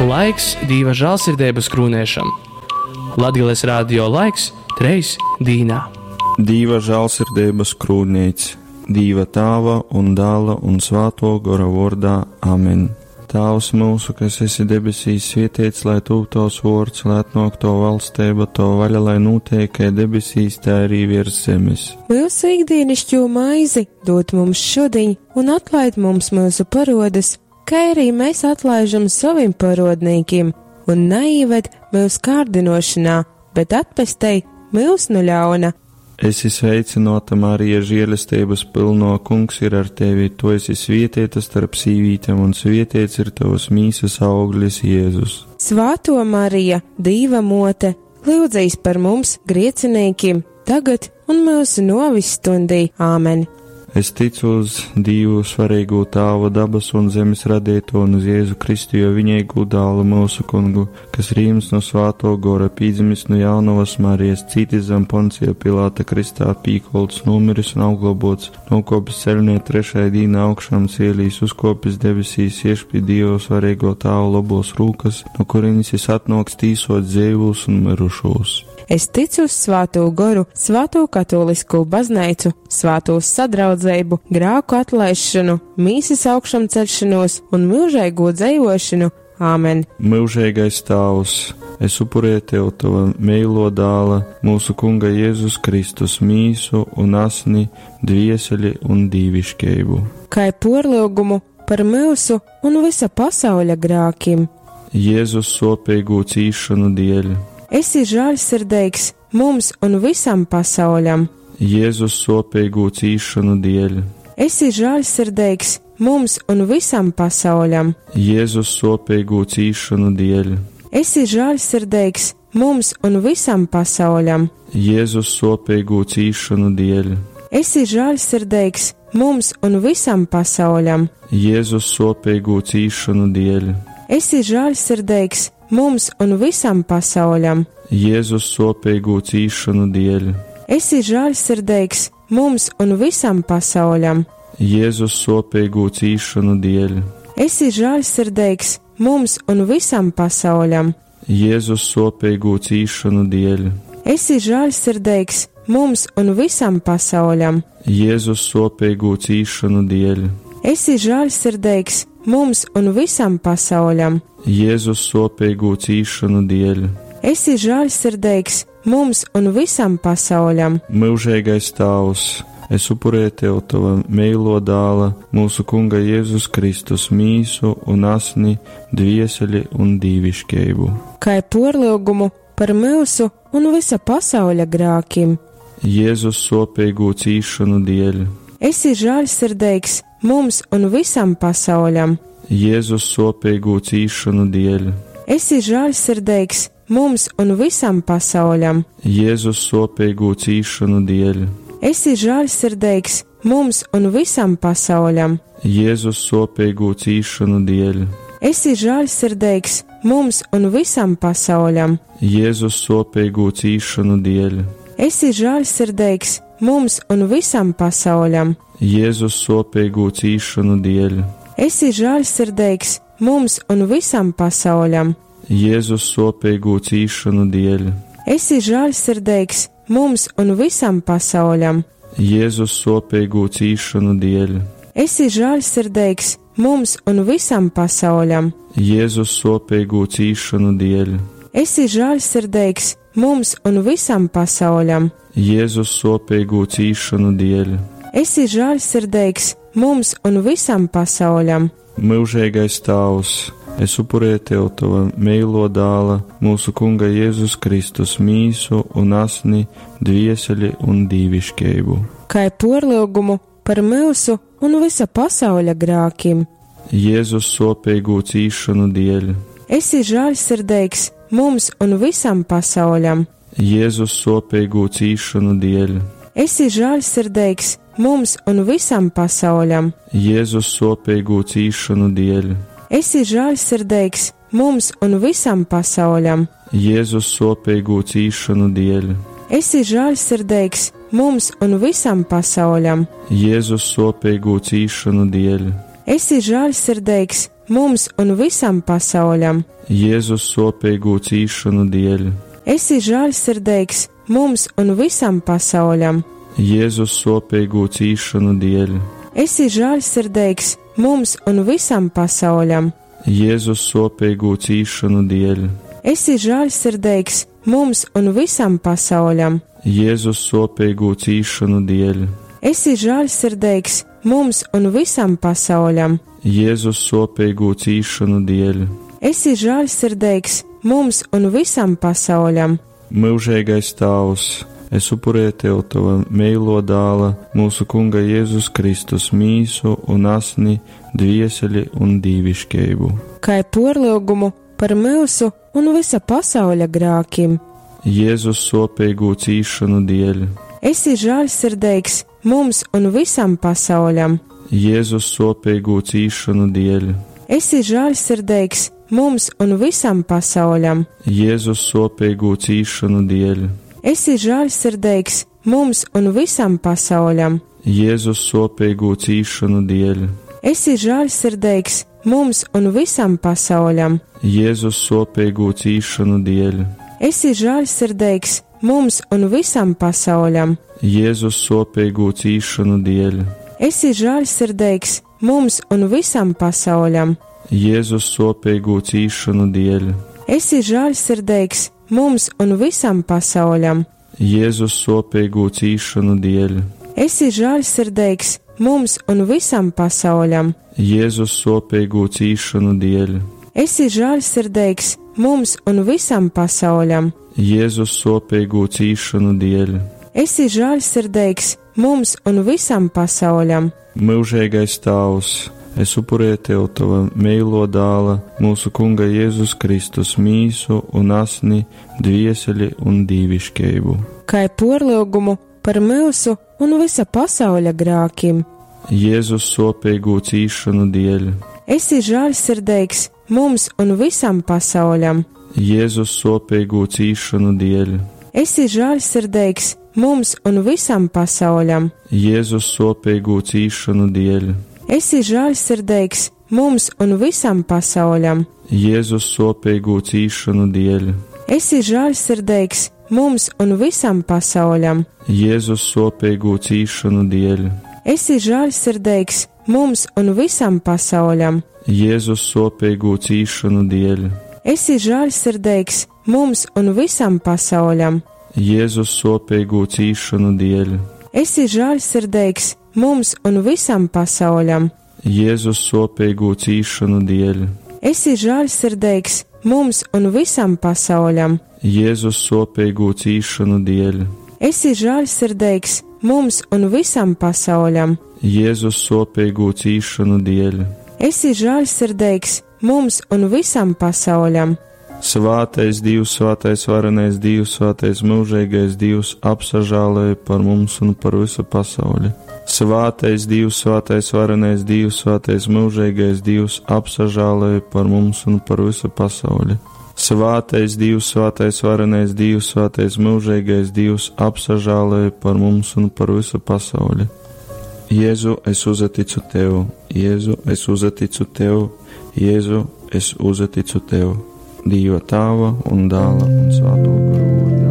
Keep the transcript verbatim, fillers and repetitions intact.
Laiks Dīva žālsirdeibas krūnēšam. Latgales radio laiks treis dīnā. Dīva žālsirdeibas krūnīts, Dīva Tāva un Dāla un Svāto Gora vārdā. Amen. Tēvs mūsu, kas esi debesīs, svētīts, lai tūp tavs vārds, lai atnāk tava valstība, tava vaļa, lai notiek, kā debesīs, tā arī virs zemes. Mūsu ikdienišķo maizi dod mums šodien, un atlaid mums mūsu parodas, kā arī mēs atlaižam saviem parodnīkiem, un neieved mūsu kārdinošanā, bet atpestei mūs no ļauna. Esi sveicināta, Marija, žēlestības pilno, kungs ir ar tevi, tu esi svētīta starp sīvītēm, un svētīts ir tavas mīsas auglis, Jēzus. Svāto Marija, Dīva mote, lūdzīs par mums griecinīkiem, tagad un mūsu novis stundī. Āmen! Es ticu uz Dievu svarīgo Tāvu dabas un zemes radīto un uz Jēzu Kristu, jo viņai gudālu mūsu kungu, kas rīms no svāto gora, pīdzimis no jaunavas Marijas, cītis zem Poncija Pilāta Kristā, pīkolts, nomiris un auglobots, nokopis ceļnie trešai dīna augšām cielīs, uzkopis debesīs, ieš pie Dieva svarīgo Tāvu lobos rūkas, no kurienes jis atnoks tīsot dzīvus un mirušos. Es ticu uz svāto goru, svāto katolisko baznīcu, svāto sadraudzību, grāku atlaišanu, mīsas augšām celšanos un mūžīgo dzīvošanu. Āmen! Mūžīgais Tēvs, es upurēju tev tava mīlo dāla, mūsu Kunga Jēzus Kristus mīsu un asni, dvieseli un dīviškību. Kā porlūgumu par mūsu un visa pasauļa grākiem. Jēzus sopīgu cīšanu dēļ. Esi žēlsirdīgs mums un visam pasauļam. Jēzus sopīgu cīšanu dēļ. Esi žēlsirdīgs mums un visam pasauļam. Jēzus sopīgu cīšanu dēļ. Esi žēlsirdīgs mums un visam pasauļam. Jēzus sopīgu cīšanu dēļ. Esi žēlsirdīgs mums un visam pasauļam. Jēzus sopīgu cīšanu dēļ. Esi žēlsirdīgs mums un visam pasauļam. Jēzus sopīgu cīšanu dēļ. Esi žēlsirdīgs mums un visam pasauļam. Jēzus sopīgu cīšanu dēļ. Esi žēlsirdīgs mums un visam pasauļam. Jēzus sopīgu cīšanu dēļ. Esi žēlsirdīgs mums un visam pasauļam. Jēzus sopīgu cīšanu dēļ. Esi žēlsirdīgs mums un visam pasauļam. Jēzus sopīgu cīšanu dēļ. Esi žēlsirdīgs mums un visam pasauļam. Mūžīgais Tēvs, es upurēju tev tava mīlo dāla, mūsu Kunga Jēzus Kristus mīsu un asni, dvieseli un dīviškību. Kā porlūgumu par mūsu un visa pasauļa grākiem. Jēzus sopīgu cīšanu dēļ. Esi žēlsirdīgs mums un visam pasauļam. Jēzus sopīgu cīšanu dēļ. Esi žēlsirdīgs mums un visam pasauļam. Jēzus sopīgu cīšanu dēļ. Esi žēlsirdīgs mums un visam pasauļam. Jēzus sopīgu cīšanu dēļ. Esi žēlsirdīgs mums un visam pasauļam. Jēzus sopīgu cīšanu dēļ. Esi žēlsirdīgs mums un visam pasauļam. Jēzus sopīgu cīšanu dēļ. Esi žēlsirdīgs mums un visam pasauļam. Jēzus sopīgu cīšanu dēļ. Esi žēlsirdīgs mums un visam pasauļam. Jēzus sopīgu cīšanu dēļ. Esi žēlsirdīgs mums un visam pasauļam. Jēzus sopīgu cīšanu dēļ. Esi žēlsirdīgs mums un visam pasauļam. Jēzus sopīgu cīšanu dēļ. Esi žēlsirdīgs mums un visam pasauļam. Mūžīgais Tēvs, es upurēju tev tava mīlo dāla, mūsu Kunga Jēzus Kristus mīsu un asni, dvieseli un dīviškību. Kā porlūgumu par mūsu un visa pasauļa grākiem. Jēzus sopīgu cīšanu dēļ. Esi žēlsirdīgs mums un visam pasauļam. Jēzus sopīgu cīšanu dēļ. Esi žēlsirdīgs mums un visam pasauļam. Jēzus sopīgu cīšanu dēļ. Esi žēlsirdīgs mums un visam pasauļam. Jēzus sopīgu cīšanu dēļ. Esi žēlsirdīgs mums un visam pasauļam. Jēzus sopīgu cīšanu dēļ. Esi žēlsirdīgs mums un visam pasauļam. Jēzus sopīgo cīšanu dēļ. Esi žēlsirdīgs mums un visam pasauļam. Jēzus sopīgo cīšanu dēļ. Esi žēlsirdīgs mums un visam pasauļam. Jēzus sopīgo cīšanu dēļ. Esi žēlsirdīgs mums un visam pasauļam. Jēzus sopīgo cīšanu dēļ. Esi žēlsirdīgs mums un visam pasauļam. Jēzus sopīgo cīšanu dēļ. Esi žēlsirdīgs mums un visam pasauļam. Mūžīgais Tēvs, es upurēju tev tava meilo dāla, mūsu Kunga Jēzus Kristus mīsu un asni, dvieseli un dīviškeibu. Kai porlūgumu par mūsu un visa pasauļa grākim. Jēzus sopīgo cīšanu dēļ. Esi žēlsirdīgs mums un visam pasauļam. Jēzus sopīgo cīšanu dēļ. Esi žēlsirdīgs mums un visam pasauļam. Jēzus sopīgo cīšanu dēļ. Esi žēlsirdīgs mums un visam pasauļam. Jēzus sopīgo cīšanu dēļ. Esi žēlsirdīgs mums un visam pasauļam. Jēzus sopīgo cīšanu dēļ. Esi žēlsirdīgs mums un visam pasauļam. Jēzus sopīgo cīšanu dēļ. Esi žēlsirdīgs mums un visam pasauļam. Jēzus sopīgo cīšanu dēļ. Esi žēlsirdīgs mums un visam pasauļam. Jēzus sopīgo cīšanu dēļ. Esi žēlsirdīgs mums un visam pasauļam. Jēzus sopīgo cīšanu dēļ. Esi žēlsirdīgs mums un visam pasauļam. Jēzus sopīgo cīšanu dēļ. Esi žēlsirdīgs mums un visam pasauļam. Mūžīgais Tēvs, es upurēju tev tava meilo dāla, mūsu Kunga Jēzus Kristus mīsu un asni, dvieseli un dīviškeibu. Kai porlūgumu par mūsu un visa pasauļa grākim. Jēzus sopīgo cīšanu dēļ. Esi žēlsirdīgs mums un visam pasauļam. Jēzus sopīgo cīšanu dēļ. Esi žēlsirdīgs mums un visam pasauļam. Jēzus sopīgo cīšanu dēļ. Esi žēlsirdīgs mums un visam pasauļam. Jēzus sopīgo cīšanu dēļ. Esi žēlsirdīgs mums un visam pasauļam. Jēzus sopīgo cīšanu dēļ. Esi žēlsirdīgs mums un visam pasauļam. Jēzus sopīgo cīšanu dēļ. Esi žēlsirdīgs mums un visam pasauļam. Jēzus sopīgo cīšanu dēļ. Esi žēlsirdīgs mums un visam pasauļam. Jēzus sopīgo cīšanu dēļ. Esi žēlsirdīgs mums un visam pasauļam. Jēzus sopīgo cīšanu dēļ. Esi žēlsirdīgs mums un visam pasauļam. Jēzus sopīgo cīšanu dēļ. Esi žēlsirdīgs mums un visam pasauļam. Svētais Dievs, svētais varenais Dievs, svētais mūžīgais Dievs, apsažālēja par mums un par visu pasauli. Svētais Dievs, svētais varenais Dievs, svētais mūžīgais Dievs, apsažālēja par mums un par visu pasauli. Svētais Dievs, svētais varenais Dievs, svētais mūžīgais Dievs, apsažālēja par mums un par visu pasauli. Jēzu, es uzticu tev, Jēzu, es uzticu tev, Jēzu, es uzticu tev. Dieva Tēva un Dēla un Svēto Garu.